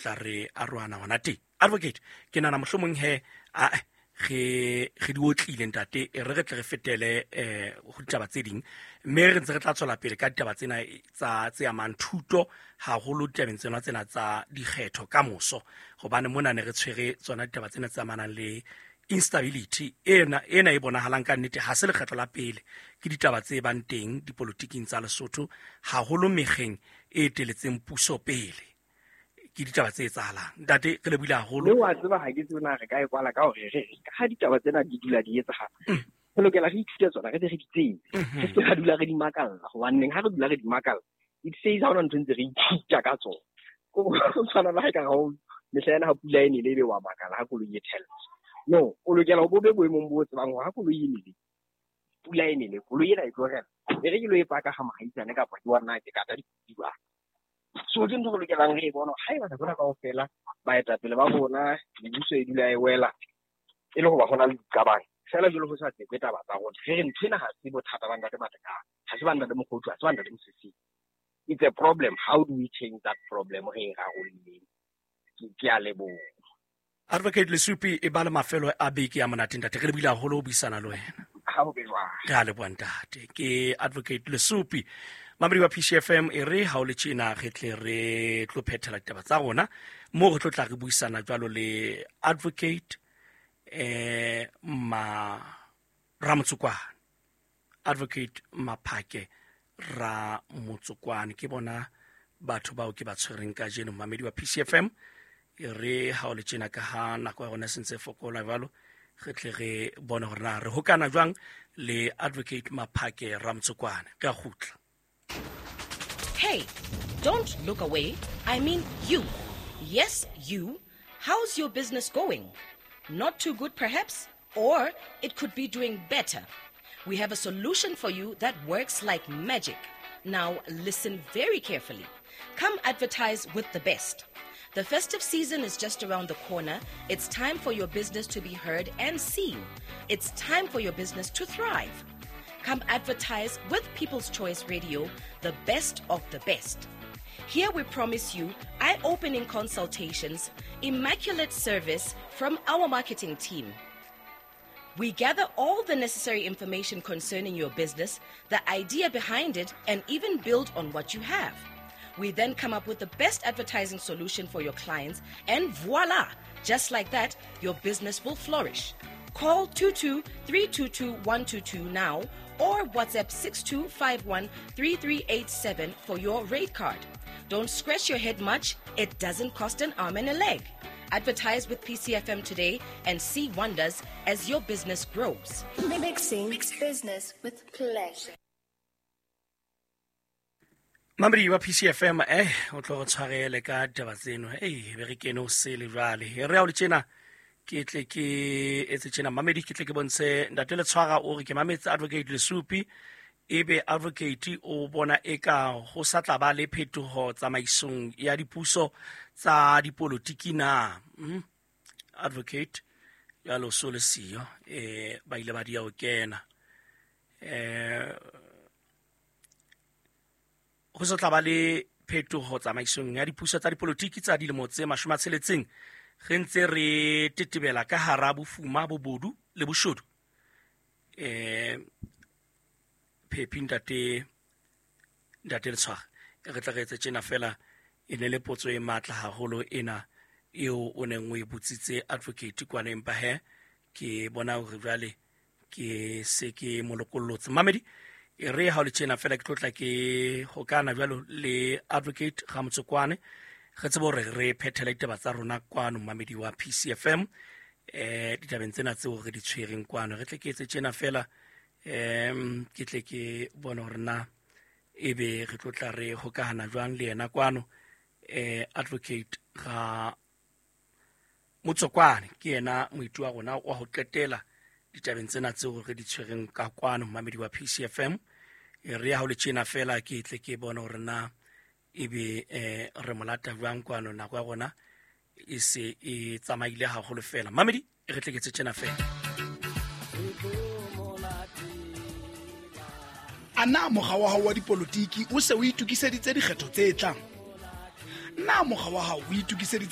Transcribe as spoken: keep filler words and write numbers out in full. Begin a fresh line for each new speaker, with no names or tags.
Tla re arohana hona teng. Advocate, ke nahana mohlomong he a re re di otlile ntate, e re re tle re fetele eh ho ditaba tse ding, mme re ntse re tla tswela pele ka ditaba tsena tsa tse amang thuto haholo ditabeng tsena tsena tsa dikgetho ka moso, hobane mona ne re tshwere tsona ditaba tsena tse amanang le instability ena ena e bonahalang ka nnete. Ha se lekgetlo la pele ke ditaba tse bang teng dipolotiking tsa Lesotho, haholo mekgeng e eteletseng puso pele, ke ditaba tse etsahalang. Ntate, re lebohile haholo.
Mme wa tseba, ha ke tsebe na re ka e kwala ka hore re ka ha ditaba tsena di dula di etsahala, re lokela re ithute tsona, re be re di tsebe, re se ra dula re di makalla, hobaneng ha re dula re di makalla, it says ha hona ntho ntse re ithuta ka tsona. Ko tshwana le ha ekare ha o mehla ena ha pula e nele, ebe wa makala ha koloi e thella. No, o lokela ho bo be boemong bo tsebang hore ha koloi e nele, pula e nele, koloi ena e tlo rela, e re ke lo e paka ga mohaisane kapa ke wa nna ke kata dikuba. So ke ntho re lokelang re e bona. Haeba nako ena kaofela baetapele ba rona, mebuso e dula e wela e le hoba ho na le diqabang feela jwalo, ho sa tsekwe taba tsa rona, re re ntho ena ha se bothata ba ntate Matekane, ha se ba ntate Mokgothu, ha se ba ntate Mosesing. It's a problem. How do we change that problem? Re e rarolleng. Ke a leboha.
Advocate Lesupi, e ba le mafelo a beke ya monate ntate, re lebohile haholo ho buisana le wena.
Ha ho be jwang.
Re a leboha ntate. Ke Advocate Lesupi, mamedi wa P C F M. E re ha o le tjena re tle re tlo phethela ditaba tsa rona moo re tlo tla re buisana jwalo le Advocate eh ma Ramotsokwane, Advocate Maphake Ramotsokwane. Ke bona batho bao ke ba tshwereng kajeno, mamedi wa P C F M. E re ha o le tjena, ka ha nako ya rona e sentse e fokola jwalo, re tle re bone hore na re hokana jwang le Advocate Maphake Ramotsokwane. Re a kgutla.
Hey, don't look away. I mean you. Yes, you. How's your business going? Not too good, perhaps? Or it could be doing better. We have a solution for you that works like magic. Now, listen very carefully. Come advertise with the best. The festive season is just around the corner. It's time for your business to be heard and seen. It's time for your business to thrive. Come advertise with People's Choice Radio, the best of the best. Here we promise you eye opening consultations, immaculate service from our marketing team. We gather all the necessary information concerning your business, the idea behind it, and even build on what you have. We then come up with the best advertising solution for your clients, and voila! Just like that, your business will flourish. Call two two three two two one two two now or WhatsApp six two five one three three eight seven for your rate card. Don't scratch your head much, it doesn't cost an arm and a leg. Advertise with P C F M today and see wonders as your business grows.
Mixing business with pleasure.
Mamedi wa P C F M, eh o tlo re tshwarele ka ditaba tseno, ei be re kene o sele jwale. E re ha o le tjena ke tle ke etse tjena, mamedi, ke tle ke bontshe ntate Letshwara o re ke mametse Advocate Lesupi, ebe advocate o bona eka ho sa tla ba le phetoho tsamaisong ya dipuso tsa dipolotiki na? mm? Advocate jalo so le siyo, eh ba ile ba dia ho kena, eh ho sa tla ba le phetoho tsamaisong ya dipuso tsa dipolotiki tsa dilemo tse mashome a tsheletseng re ntse re tetebela ka hara bofuma, bobodu le boshodu? eh phephi ntate ntate Letshwara, re tla re etse tjena fela. E ne le potso e matla haholo ena eo o neng o e botsitse advocate kwana, empa he ke bona hore jwale ke se ke molokollotse. Mamedi, e re ha o le tjena fela ke tlo tla ke hokana jwalo le Advocate Ramotsokwane, re tsebe hore re phethele ditaba tsa rona kwano, mamedi wa P C F M, eh ditabeng tsena tseo re di tshwereng kwano. Re tle ke etse tjena fela, em ke tle ke bone hore na ebe re tlo tla re hokahana jwang le yena kwano. eh Advocate Ra Motsokwane ke yena moitu wa rona wa ho qetela ditabeng tsena tseo re di tshwereng ka kwano, mamedi wa P C F M. E re ha o le tjena fela ke tle ke bone hore na ebe eh re molata jwang kwano. Nako ya rona e se e tsamaile haholo fela, mamedi, e re tle ke tse tjena fela.
A na mokga wa hao wa dipolotiki o se o itokiseditse dikgetho tse tlang? Na mokga wa hao o itokiseditse